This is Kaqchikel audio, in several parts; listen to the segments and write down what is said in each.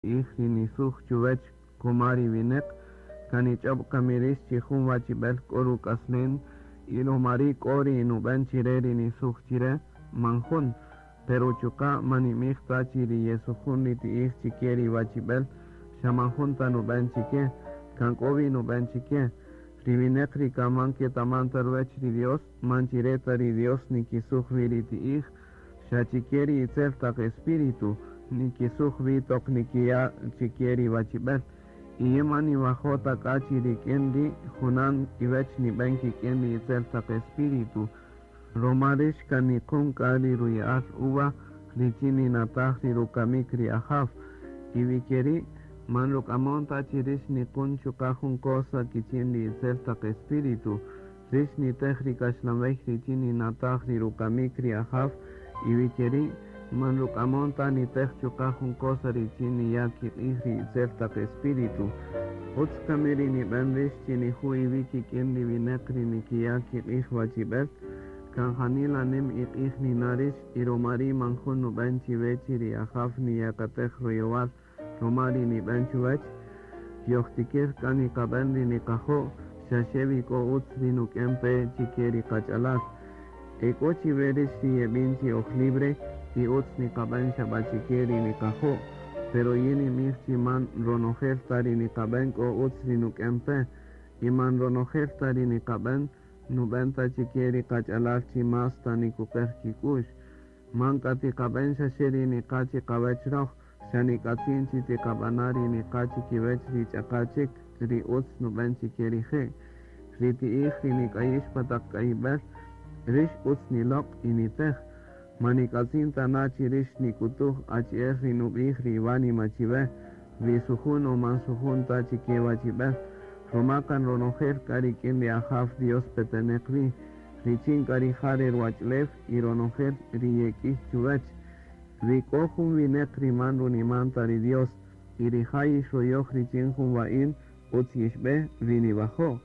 Ti'ij ri nisuj chuwech koma ri wineq, kan nich'ob kami rix chi jun wachibel k'o ruk'aslen y roma ri' k'o ri nuben chire ri nisuj chire? Man jun. Pero chuqa' man nimij ta chi ri yesujun ri ti'ij chike ri wachibel xa man jun ta nuben chike, kan k'o wi nuben chike. Ri wineq ri kan man ketaman ta ruwech ri Dios, man chire ta ri Dios nikisuj wi ri ti'ij, xa chike ri itzel taq espíritu nikisuj wi toq nikiya' chike ri wachibel. Y yin man niwajo' ta k'a chi rik'in ri' junan iwech niben kik'in ri itzel taq espíritu, roma rix kan niqum k'a ri ruya'al uva richin ninataj ri rukamik ri Ajaw. Y wi keri', man ruk'amon ta chi rix niqun chuqa' jun cosa kichin ri itzel taq espíritu. Rix nitej ri kaxlan-wey richin ninataj ri rukamik ri Ajaw, y wi keri', man ruk'amon ta nitej chuqa' jun cosa richin niya' kiq'ij ri itzel taq espíritu. Utz kami ri niben rix chi niju' iwi' kik'in ri wineq ri nikiya' kiq'ij wachibel? Kan janila nim iq'ij nina' rix, y roma ri' man jun nuben chiwe chi ri Ajaw niyakatej royowal roma ri niben chuwech. Yojtikir k'a niqaben ri niqajo', xaxe wi k'o utz ri nuk'en-pe chike ri qach'alal. Ek'o chiwe rix ri yebin chi oj libre y utz niqaben xabachike ri niqajo', pero yin ninbij chi man ronojel ta ri niqaben k'o utz ri nuk'en-pe, y man ronojel ta ri niqaben nuben ta chike ri qach'alal chi más ta nikuqer kik'u'x. Man k'a tiqaben xaxe ri niqa' chiqawech roj, xa nik'atzin chi tiqabana' ri niqa' chikiwech ri ch'aqa' chik ri utz nuben chike rije'. Ri ti'ij ri nik'ayix pa taq k'ayibel, rix utz niloq' y nitej. Man nik'atzin ta na chi rix nik'utuj achi'el ri nubij ri iwánima chiwe, wi sujun o man sujun ta chike wachibel, roma kan ronojel k'a rik'in ri Ajaw Dios peteneq wi, richin k'a rija' re ruwach'ulew y ronojel ri yek'iy chuwech. Wi k'o jun wineq ri man runiman ta ri Dios, y rija' yixroyoj richin jun wa'in, utz yixbe wi niwajo',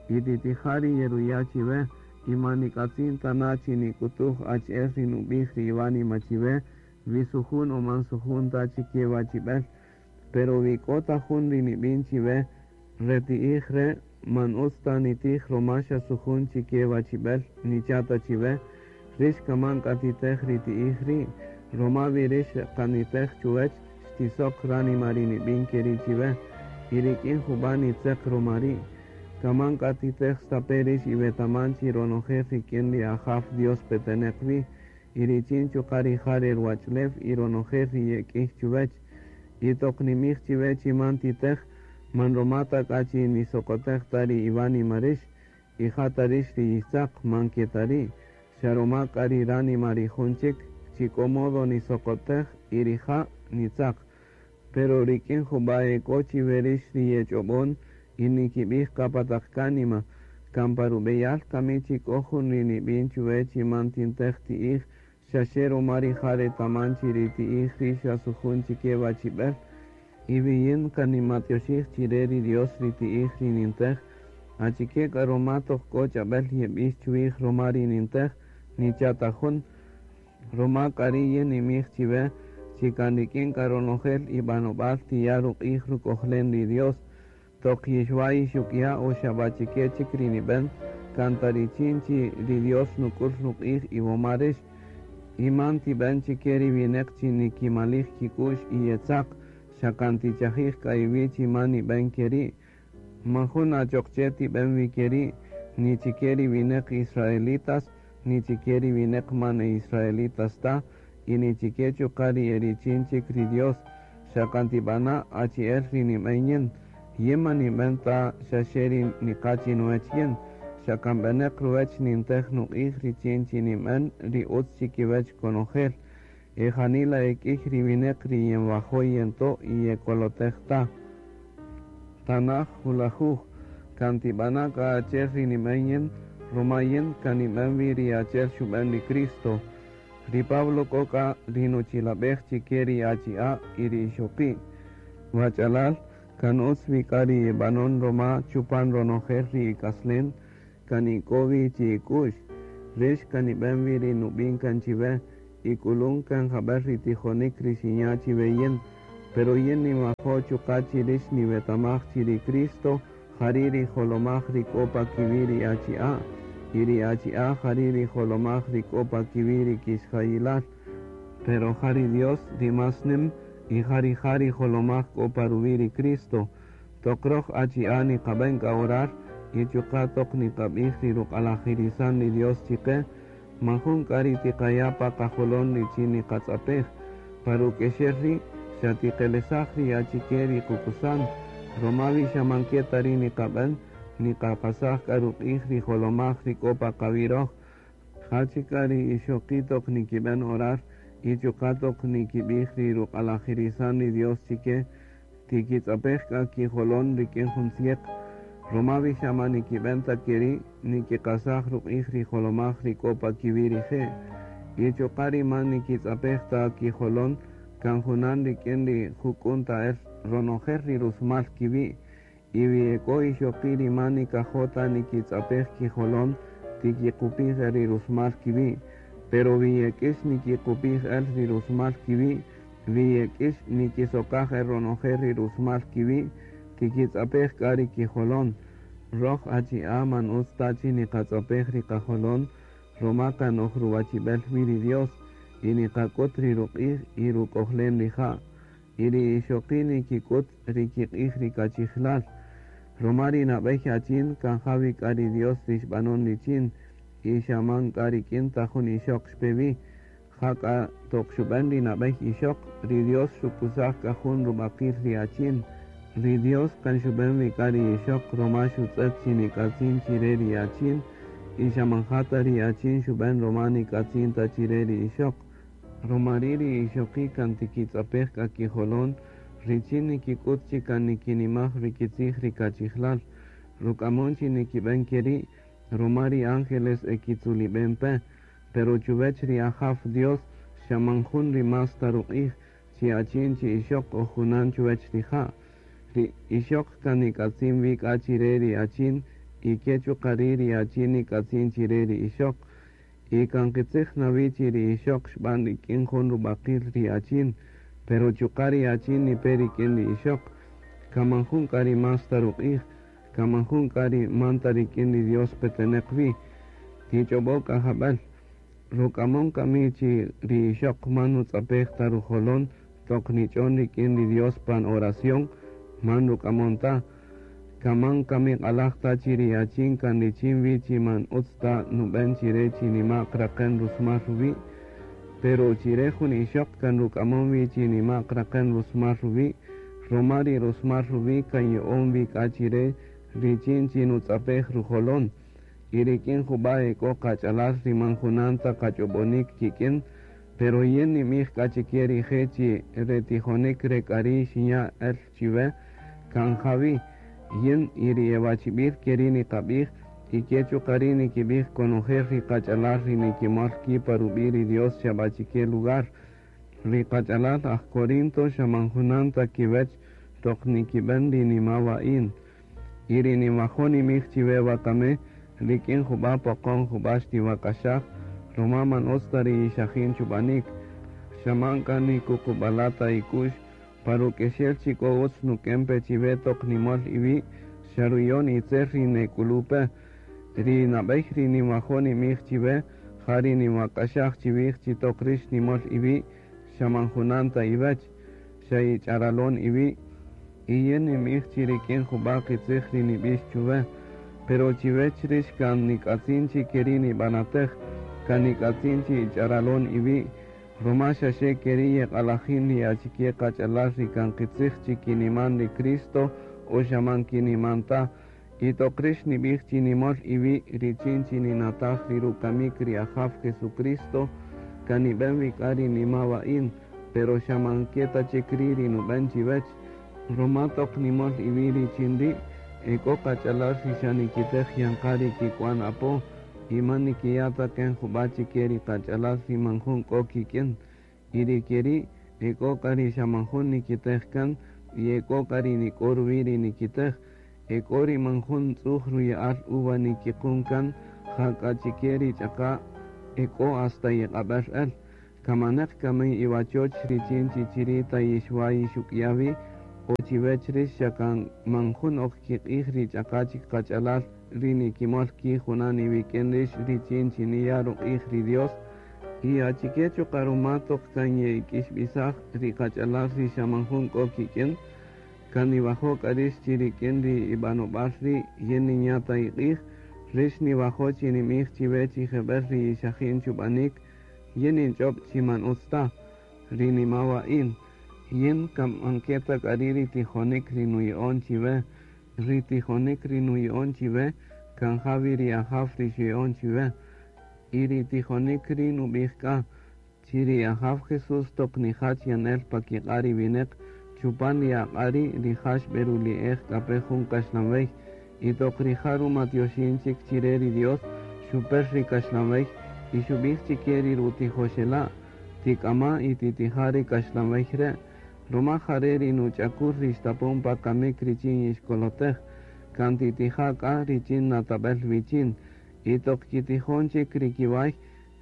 y titija' ri yeruya' chiwe, y man nik'atzin ta na chi nik'utuj achi'el ri nubij ri iwánima chiwe, wi sujun o man sujun ta chike wachibel. Pero wi k'o ta jun ri nibin chiwe, re ti'ij re' man utz ta nitij roma xa sujun chike wachibel, nicha' ta chiwe, rix kaman k'a titej ri ti'ij ri', roma wi rix kan nitej chuwech, xtisok ránima ri nibin keri' chiwe, y rik'in juba' nitzeq roma ri'. Kaman k'a titej stape' rix iwetaman chi ronojel rik'in ri Ajaw Dios peteneq wi, y richin chuqa' rija' re ruwach'ulew y ronojel ri yek'iy chuwech. Y toq nimij chiwe chi man titej, man roma ta k'a chi nisokotej ta ri iwánima rix, y ja ta rix ri yixtzaq, man ke ta ri', xa roma k'a ri ránima ri jun chik chi k'o modo nisokotej y rija' nitzaq. Pero rik'in juba' ek'o chiwe rix ri yech'obon y nikibij qa pa taq kánima, kan pa rub'eyal kami chi k'o jun ri nib'in chuwe chi man tintej ti'ij, xaxe roma rija' retaman chi ri ti'ij ri' xa sujun chike wachib'el, y wi yin kan nimatyoxij chire ri Dios ri ti'ij ri nintej, achike k'a roma toq k'o ch'ab'el yeb'ix chuwij roma ri nintej, nicha' ta jun. Roma k'a ri' yin nimij chiwe chi kan rik'in k'a ronojel ib'anob'al tiya' ruq'ij ruk'ojlen ri Dios. Toq yixwa' yixuk'ya' o xabachike chik ri nib'en, kan ta richin chi ri Dios nuk'ul ruq'ij iwoma rix. Y man tib'en chike ri wineq chi nikimalij kik'u'x y yetzaq, xa kan tichajij k'a iwi' chi man nib'en keri'. Man jun achoq che tib'en wi keri', ni chike ri wineq israelitas, ni chike ri wineq man e israelitas ta, y ni chike chuqa' ri e richin chik ri Dios, xa kan tib'ana' achi'el ri nib'en yin. Yin man nib'en ta xaxe ri niqa' chinuwech yin, xa kan b'eneq ruwech nintej nuq'ij richin chi nib'en ri utz chikiwech konojel. E janila e k'iy ri wineq ri yenwajo' yento' y yekolotej ta. Tanaj julajuj, kan tib'ana' k'a achi'el ri nib'en yin, roma yin kan nib'en wi ri achi'el xub'en ri Cristo. Ri Pablo k'o k'a ri nuchilab'ej chike ri achi'a' y ri ixoqi'. Wach'alal, kan utz wi k'a ri ib'anon roma chupan ronojel ri ik'aslen, kan ik'o wi chi ik'u'x. Rix kan nib'en wi ri nub'in kan chiwe, ik'ulun kan jab'el ri tijonik ri xinya' chiwe yin. Pero yin ninwajo' chuqa' chi rix niwetamaj chi ri Cristo jari' ri jolomaj ri k'o pa kiwi' ri achi'a', y ri achi'a' jari' ri jolomaj ri k'o pa kiwi' ri kixjayilal. Pero ja ri Dios ri más nim y ja rija' ri jolomaj k'o pa ruwi' ri Cristo. Toq roj achi'a' niqab'en k'a orar y chuqa' toq niqab'ij ri ruq'alajirisan ri Dios chiqe, man jun k'a ri tiqaya' pa qajolon richin niqatz'apej. Pa ruk'exel ri' xa tiqelesaj ri achike ri qukusan, roma wi xa man ke ta ri' niqab'en, niqaqasaj k'a ruq'ij ri jolomaj ri k'o pa qawi' roj. Ja chik k'a ri ixoqi' toq nikib'en orar y chuqa' toq nikib'ij ri ruq'alajirisan ri Dios chike, tikitz'apej k'a kijolon rik'in jun tzieq, roma wi xa man nikib'en ta keri', nikiqasaj ruq'ij ri jolomaj ri k'o pa kiwi' rije'. Y chuqa' ri man nikitz'apej ta kijolon, kan junan rik'in ri juk'un ta el ronojel ri rusmal kiwi'. Y wi e k'o ixoqi' ri man nikajo' ta nikitz'apej kijolon, tikiqupij el ri rusmal kiwi'. Pero wi yek'ix nikiqupij el ri rusmal kiwi', wi yek'ix nikisokaj el ronojel ri rusmal kiwi', tikitz'apej k'a ri kijolon. Roj achi'a' man utz ta chi niqatz'apej ri qajolon, roma kan oj ruwachib'el wi ri Dios, y niqak'ut ri ruq'ij y ruk'ojlen rija'. Y ri ixoqi' nikik'ut ri kiq'ij ri kachijlal. Roma ri nab'ey achin kan ja wi k'a ri Dios ri xb'anon richin, y xa man k'a rik'in ta jun ixoq xpe wi. Ja k'a toq xub'en ri nab'ey ixoq, ri Dios xukusaj k'a jun rub'aqil ri achin. Ri Dios kan xub'en wi k'a ri ixoq roma xutz'et chi nik'atzin chire ri achin, y xa man ja ta ri achin xub'en roma nik'atzin ta chire ri ixoq. Roma ri' ri ixoqi' kan tikitz'apej k'a kijolon richin nikik'ut chi kan nikinimaj ri kitzij ri kachijlal. Ruk'amon chi nikib'en keri' roma ri ángeles e kitzulib'en pe. Pero chuwech ri Ajaw Dios xa man jun ri más ta ruq'ij, chi achin chi ixoq o junan chuwech rija'. Ri ixoq kan nik'atzin wi k'a chire ri achin y ke chuqa' ri' ri achin nik'atzin chire ri ixoq. Y kan qitzij na wi chi ri ixoq xb'an rik'in jun rub'aqil ri achin, pero chuqa' ri achin nipe rik'in ri ixoq. Kan man jun k'a ri más ta ruq'ij, kan man jun k'a ri man ta rik'in ri Dios peteneq wi. Tich'ob'o' k'a jab'el. Ruk'amon kami chi ri ixoq man nutz'apej ta rujolon toq nich'on rik'in ri Dios pan oración? Man ruk'amon ta. Kan man kami q'alaj ta chi ri achin kan richin wi chi man utz ta nub'en chire chi nima'q raqen rusmal ruwi'? Pero chire jun ixoq kan ruk'amon wi chi nima'q raqen rusmal ruwi', roma ri rusmal ruwi' kan ya'on wi k'a chire richin chi nutz'apej rujolon. Y rik'in jub'a' e k'o qach'alal ri man junan ta qach'ob'onik kik'in, pero yin ninb'ij k'a chike rije' chi re tijonik re k'ari' xinya' el chiwe, kan ja wi, yin y ri e wachib'il keri' niqab'ij, y ke chuqa' ri' nikib'ij konojel ri qach'alal ri nikimol ki' pa rub'i' ri Dios xa b'a chike lugar. Ri qach'alal aj Corinto xa man junan ta kiwech toq nikib'en ri nima-wa'in. Y ri ninwajo' ninb'ij chiwe wakami, rik'in jub'a' poqon jub'a' xtiwak'axaj, roma man utz ta ri yixajin chub'anik. Xa man k'a nikuqub'ala' ta ik'u'x, pa ruk'exel chi k'o utz nuk'en-pe chiwe toq nimol iwi', xa ruyon itzel ri nek'ulu-pe. Ri nab'ey ri ninwajo' ninb'ij chiwe, ja ri ninwak'axaj chiwij chi toq rix nimol iwi', xa man junan ta iwech, xa ich'aralon iwi'. Y yin ninb'ij chi rik'in jub'a' qitzij ri nib'ix chuwe, pero chiwech rix kan nik'atzin chi keri' nib'anatej, kan nik'atzin chi ich'aralon iwi', roma xaxe keri' yeq'alajin ri achike qach'alal ri kan qitzij chi kiniman ri Cristo o xa man kiniman ta. Y toq rix nib'ij chi nimol iwi' richin chi ninataj ri rukamik ri Ajaw Jesucristo, kan nib'en wi k'a ri nima-wa'in, pero xa man ke ta chik ri' ri nub'en chiwech. Roma toq nimol iwi' richin ri', e k'o qach'alal ri xa nikitej yan qa ri kik'uan apo, y man nikiya' ta ken jub'a' chike ri qach'alal ri man jun k'o kik'in. Y ri keri', e k'o k'a ri xa man jun nikitej kan, y e k'o k'a ri nik'o ruwi' ri nikitej. E k'o ri man jun tz'uj ruya'al uva nikiqun kan, jak'a chike ri ch'aqa' e k'o hasta yeq'ab'er el. Kan maneq kami iwachoch richin chi chiri' ta yixwa' yixuk'ya' wi, o chiwech rix xa kan man jun ok kiq'ij ri ch'aqa' chik qach'alal ri nikimol ki' junan iwik'in rix richin chi niya' ruq'ij ri Dios? Y achike chuqa' ruma toq kan ye'ik'ixb'isaj ri qach'alal ri xa man jun k'o kik'in? Kan niwajo' k'a rix chi rik'in ri ib'anob'al ri' yin ninya' ta iq'ij? Rix niwajo' chi ninb'ij chiwe chi jeb'ël ri yixajin chub'anik, yin ninch'ob' chi man utz ta. Ri nimawa'in, yin kan man ke ta k'a ri' ri tijonik ri nuya'on chiwe. Ri tijonik ri nuya'on chiwe kan ja wi ri Ajaw ri xuya'on chiwe. Y ri tijonik ri' nub'ij k'a, chi ri Ajaw Jesús toq nijach yan el pa kiq'a' ri wineq, chupan ri aq'a' ri' rija' xb'eruli'ej k'a pe jun kaxlanwey, y toq rija' rumatyoxin chik chi re ri Dios, xuper ri kaxlanwey y xub'ij chi ke ri rutijoxela', Tik'ama' y titija' re kaxlanwey re', ruma ja re' ri nuch'akul ri xtapon pa kamik richin yixkolotej. Kan titija' k'a richin natab'el wichin. Y toq kitijon chik ri kiway,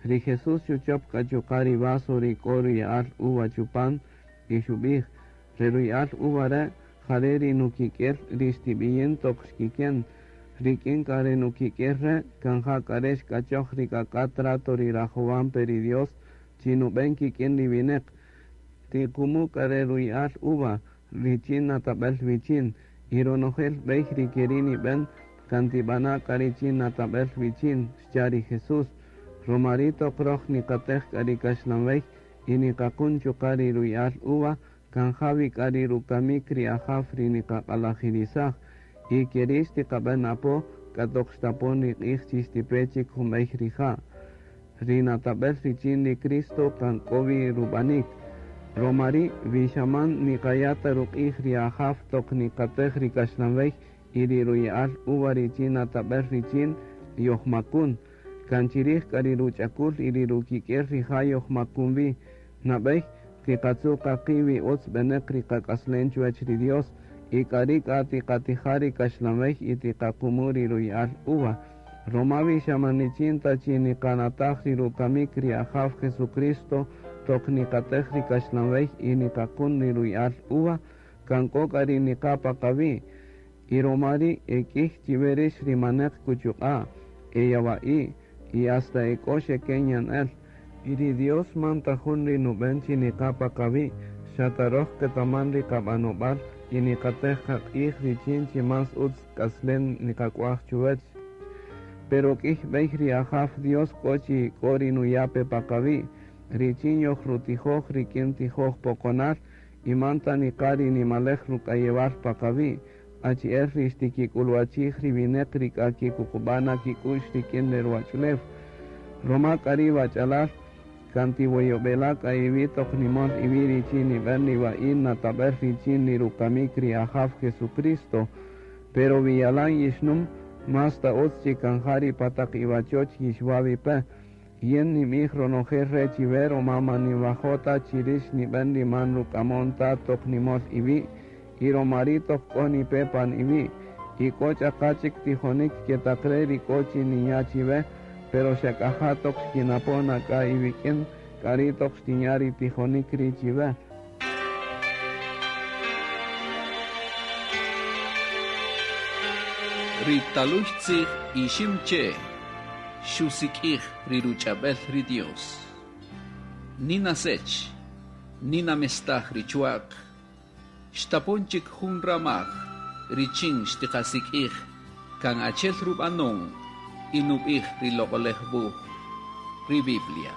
ri Jesús xuchop k'a chuqa' ri vaso ri k'o ruya'al uva chupan, y xub'ij, Re ruya'al uva re' ja re' ri nukik'el ri xtib'iyin toq xkiken. Rik'in k'a re nukik'el re' kan ja k'a re' xk'achoj ri k'ak'a' trato ri rajowan pe ri Dios chi nub'en kik'in ri wineq. Tiqumu' k'a re ruya'al uva richin natab'el wichin, y ronojel b'ey ri keri' nib'en, kan tib'ana' k'a richin natab'el wichin, xcha' ri Jesús. Roma ri' toq roj niqatej k'a ri kaxlanwey y niqaqun chuqa' ri ruya'al uva, kan ja wi k'a ri rukamik ri Ajaw ri niqaq'alajirisaj, y keri' xtiqab'en apo k'a toq xtapon ri q'ij chi xtipe chik jun b'ey rija'. Ri natab'el richin ri Cristo kan k'o wi rub'anik. Roma ri' wi xa man niqaya' ta ruq'ij ri Ajaw toq niqatej ri kaxlanwey y ri ruya'al uva richin natab'el richin, yojmakun. Kan chirij k'a ri ruch'akul y ri rukik'el rija' yojmakun wi. Nab'ey, tiqatzu' qa qi' wi utz b'eneq ri qak'aslen chuwech ri Dios, y k'ari' k'a tiqatija' ri kaxlanwey y tiqaqumu' ri ruya'al uva. Roma wi xa man richin ta chi niqanataj ri rukamik ri Ajaw Jesucristo toq niqatej ri kaxlanwey y niqaqun ri ruya'al uva, kan k'o k'a ri niqa' pa qawi'. Y roma ri' e k'iy chiwe rix ri maneq kuchuq'a', e yawa'i', y hasta e k'o xeken yan el. Y ri Dios man ta jun ri nuben chi niqa' pa qawi', xa ta roj qetaman ri qabanobal y niqatej qaq'ij richin chi más utz k'aslen niqak'uaj chuwech. Pero k'iy b'ey ri Ajaw Dios k'o chi k'o ri nuya' pe pa qawi', richin yojrutijoj rik'in tijoj poqonal y man ta niqa' ri nimalej ruk'ayewal pa qawi', achi'el ri xtikik'uluwachij ri wineq ri k'a kikuqub'a' na kik'u'x rik'in re ruwach'ulew. Roma k'a ri' wach'alal, kan tiwoyob'ela' k'a iwi' toq nimol iwi' richin nib'en ri wa'in natab'el richin ri rukamik ri Ajaw Jesucristo. Pero wi yalan yixnum, más ta utz chi kan ja ri pa taq iwachoch yixwa' wi pe. Yin ninb'ij ronojel re' chiwe roma man ninwajo' ta chi rix nib'en ri man ruk'amon ta toq nimol iwi', y roma ri' toq k'o nipe pan iwi'. Y k'o ch'aqa' chik tijonik ke taq re' ri k'o chi ninya' chiwe, pero xa k'a ja toq xkinapon na k'a iwik'in, k'ari' toq xtinya' ri tijonik ri' chiwe. Ri talüy tzij Iximche' xusik'ij ri ruch'ab'äl ri Dios. Nina sech, nina mestaj ri chwa'q, xtapon chik jun ramaj richin xtiqasik'ij kan achi'el rub'anon y nub'ij ri Loq'oläj Wuj, ri Biblia.